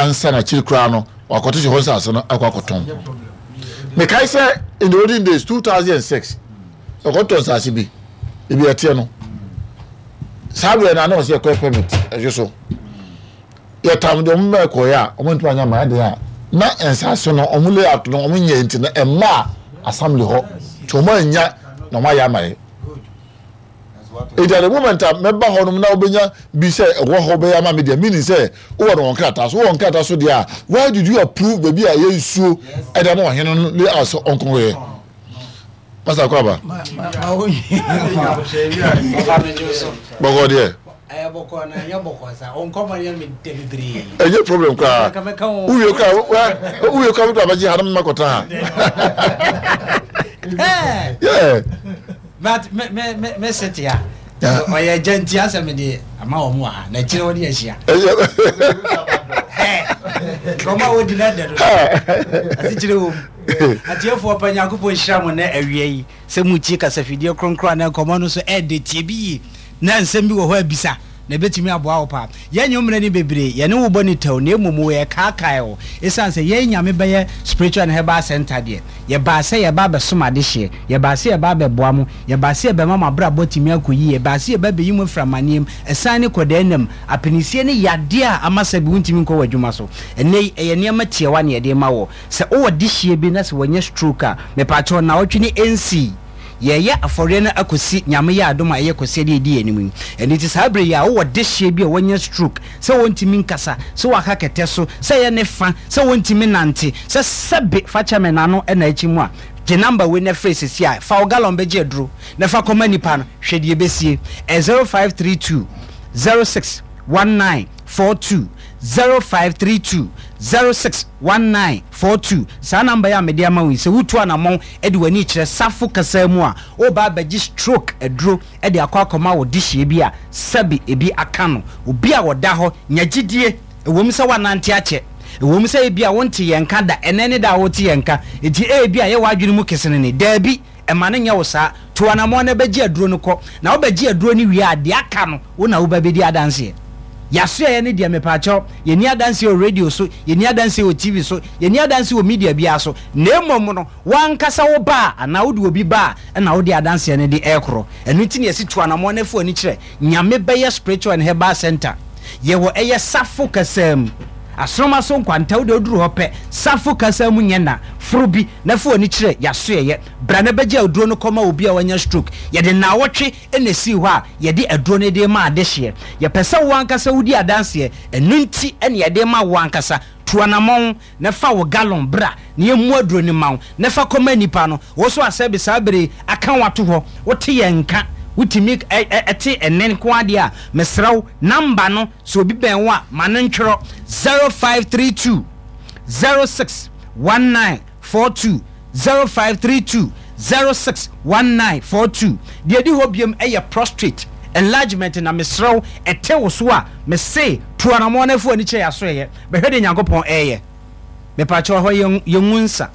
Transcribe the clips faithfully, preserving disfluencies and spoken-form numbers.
Ansa na akyiri koraa no, wakɔto hyɛ hɔ nsase no akɔ akɔtɔn. Mekae sɛ in the olden days, two thousand and six, ɛkɔtɔ nsase bi ebi ɛteɛ no, saa berɛ no ana ɔsɛ yɛkɔyɛ permit. Ɛhwɛ so yɛtam deɛ ɔmo bɛɛ kɔyɛ a, ɔmo ntoma anya maa deɛ a na nsase no ɔmo layout no ɔmo nyɛ, nti no ɛmma assembly hɔ nti ɔmo anya na ɔmo ayɛ ama yɛ. Eti at the moment a mɛba hɔ nom na wobɛnya bi sɛ ɛwɔ hɔ bɛyɛ ama mi deɛ, meaning sɛ wowɔ no wɔn krataa so, wowɔ wɔn krataa so deɛ a, why did you approve baabi a ɛyɛ nsuo ɛde ama ɔhene no layout sɛ ɔnkɔnkɔyɛ? Masa kɔ aba bɔkɔ deɛ. Ɛyɛ bɔkɔ na ɛnyɛ bɔkɔ sa ɔnkɔmɔ yɛ mi dɛ bebree. Ɛnyɛ problem koraa. Wowie koraa, wowie koraa wotɔ abɛgye ha na mma kɔtena ha. Yeah. But me me me me sete a ɔyɛ gya nti asɛ me de ama wɔn wɔ ha na akyire wɔde ahyia kɔmɔ a wɔdi na dɛ do asekyerɛ wɔ mu. Atiefoɔ pa, Nyankopɔn nhyira mo na awia yi sɛ mutie kasafidie kronkron a na nkɔmmɔ no so ɛde tie bi yie na nsɛm bi wɔ hɔ abisa na ɛbɛtumi aboa wo paa. Yɛnyɛ mmerɛ no bebree yɛne wo bɔ ne tɛw, na mmom wɔ yɛ kaakae wo ɛsiane sɛ yɛn Nyame Bɛyɛ Spiritual and Herbal Center deɛ, yɛbaa sɛ yɛba abɛsom adehyeɛ, yɛbaa sɛ yɛba abɛboa mo, yɛbaa sɛ yɛbɛma mo abrabɔ tumi akɔ yie, yɛbaa sɛ yɛba bɛyi mo afiri amanneɛm, ɛsan ne kɔdaa nam apinisie ne yadeɛ a ama sɛ bi wontumi nkɔ wɔ adwuma so. Ɛnɛ yi ɛyɛ nneɛma tiawa ne yɛde ma wɔ sɛ wowɔ dehyeɛ bi na sɛ wɔnyɛ stroke a, mepaakyɛw, naawɔtwe ne ɛnsii yɛyɛ afɔreɛ no akɔsi Nyame yɛ adom a ɛyɛ kɔsi de ɛdi anim yi. Ɛno nti saa berɛ yi a wowɔ dehyeɛ bi a wɔnyɛ stroke, sɛ wɔntumi nkasa, sɛ wɔaka kɛtɛ so, sɛ ɛyɛ ne fa sɛ wɔntumi nante, sɛ sɛbe fa kyɛ me n'ano ɛna akyi mu a, gye number wei na frɛ sesi a fa wo gallon bɛgye aduro na fa kɔma nipa no. Hwɛ deɛ ɛbɛsie. Ɛ zero five three two zero six one nine four two, zero five three two zero six one nine four two. Saa number yi a mede ama wo yi, sɛ wotu anammɔn de w'ani kyerɛ Safo kasa mu a, woba abɛgye stroke aduro de akɔ akɔma wo dehyeɛ bi a sɛbi ebi aka no, obi a wɔda hɔ nya gyidie. Ɛwɔ mu sɛ woanante akyɛ, ɛwɔ mu sɛ ebi a wonte yɛn nka da, ɛnɛ ne da a wote yɛn nka, enti ebi a yɛwɔ adwene mu kesene ne daabi, ɛma no nyɛ wo saa. To anammɔn na bɛgye aduro no kɔ, na wobɛgye aduro no wie a, deɛ aka no wo na woba bɛdi adanseɛ. Yɛasoɛyɛ ne deɛ, mepaakyɛw, yɛni adanseɛ wɔ radio so, yɛni adanseɛ wɔ T V so, yɛni adanseɛ wɔ media biara so, na mmom no wankasa wo ba a anaa wode obi ba a, ɛna wode adanseɛ no de ɛrekorɔ. Ɛno nti ne yɛsi to anammɔn no afu ani kyerɛ Nyame Bɛyɛ Spiritual and Herbal Center. Yɛwɔ ɛyɛ Safo kasa mu, Asoroma so Nkwanta. Wode woduru hɔ pɛ, Safo kasa mu nyɛ na foro bi na fa w'ani kyerɛ yɛasoɛyɛ. Bra na bɛgye aduro no kɔma obi a wanya stroke. Yɛde naawɔtwe ɛna esii hɔ a yɛde aduro no de ma adehyeɛ. Yɛpɛ sɛ wo ankasa wodi adanseɛ. Ɛno nti ɛna yɛde ma wo ankasa. Tu anammɔn na fa wo gallon bra na yɛmmu aduro no ma wo na fa kɔma nipa no. Wo so asɛbi saa bere aka wato hɔ, wote yɛn nka, wotumi ɛte ɛnɛ nko adeɛ a, mesrɛ wo, number no, sɛ obi bɛn wo a, ma no ntwerɛ: zero five three two zero six one nine four two, zero five three two zero six one nine four two. Deɛ di hɔ biom ɛyɛ prostate enlargement, na mesrɛ wo, ɛte wo so a, mese tu anammɔn no afu ani kyerɛ yɛaso ɛyɛ bɛhwɛ de Nyankopɔn ɛyɛ. Mepakyɛw, hɔ yɛngu nsa,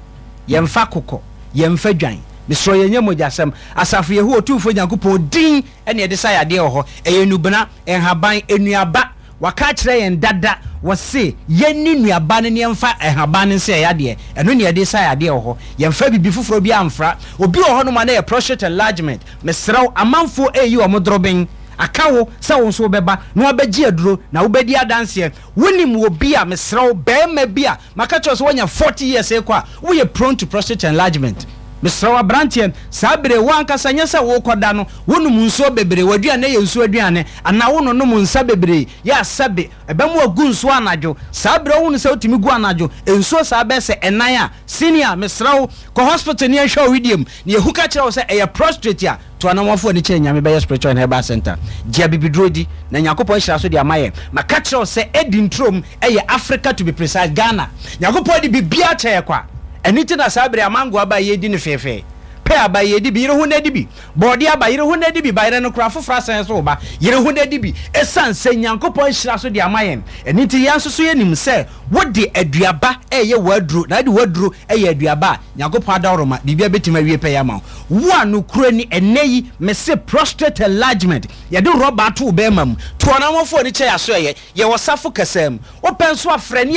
yɛmfa kokɔ, yɛmfa dwan. Mesrɛ, yɛnyɛ mogyasɛm. Asafo Yehowa Otumfoɔ Nyankopɔn din ɛne yɛde sa yadeɛ wɔ hɔ. Ɛyɛ nubena, nhaban, nnuaba. Waka akyerɛ yɛn dada, wɔse yɛnni nnuaba no ne yɛmfa nhaban no nsɛ yadeɛ. Ɛno ne yɛde sa yadeɛ wɔ hɔ. Yɛmfa biribi foforɔ bi amfra. Obi wɔ hɔ nom a na yɛ prostate enlargement, mesrɛ wo, amanfoɔ ɛyi wɔn dorobɛn aka wo sɛ wo nso wobɛba na wabɛgye aduro na wobɛdi adanseɛ. Wonim wɔ bi a, mesrɛ wo, bɛrima bi a maka kyerɛ sɛ woanya forty years ekɔ a, woyɛ prone to prostate enlargement, mesrɛ wo, aberanteɛ, saa bere wo ankasa nyɛ sɛ wokɔda no wonom nsuo bebree, w'aduane yɛ nsuo aduane anaa wononom nsa bebree yɛ asɛbe ɛbɛma wagu nsuo anadwo. Saa bere wohunu sɛ wotumi gu anadwo nsuo saa bɛɛ sɛ ɛnan a, senior, mesrɛ wo, kɔ hospital ne yɛnhwɛ wo wideɛ mu na yɛhu ka kyerɛ wo sɛ ɛyɛ prostate a. To anamɔfoɔ ani kyerɛ Nyame Bɛyɛ Spiritual and Herbal Center. Gye abibiduro di na Nyankopɔn ahyira so de ama yɛn. Maka kyerɛ wo sɛ ɛdi nturom ɛyɛ Africa, to be precise Ghana. Nyankopɔn de biribiara kyɛ yɛ kwa. Ɛno nti na saa bere amango aba yɛdi no feefee pɛ aba yɛdi bi, yere ho na di bi, bɔɔde aba, yere ho na di bi, bayerɛ no kora foforɔ asan so ba, yere ho na di bi, ɛsiane sɛ Nyankopɔn ahyira so de ama yɛn. Ɛno nti yɛn nso so yɛnim sɛ wode aduaba ɛyɛ w'aduro na wode w'aduro ɛyɛ aduaba a Nyankopɔn adaworoma biribia bɛtumi awie pɛ yɛ ama wo. Wo a nokura ni, ɛnɛ yi mese prostate enlargement, yɛde rɔba ato wo bɛrima mu. To ɔnamɔfoɔ ani kyɛ yɛaso ɛyɛ yɛwɔ Safo kɛsɛ mu. Wopɛ nso afrɛ ne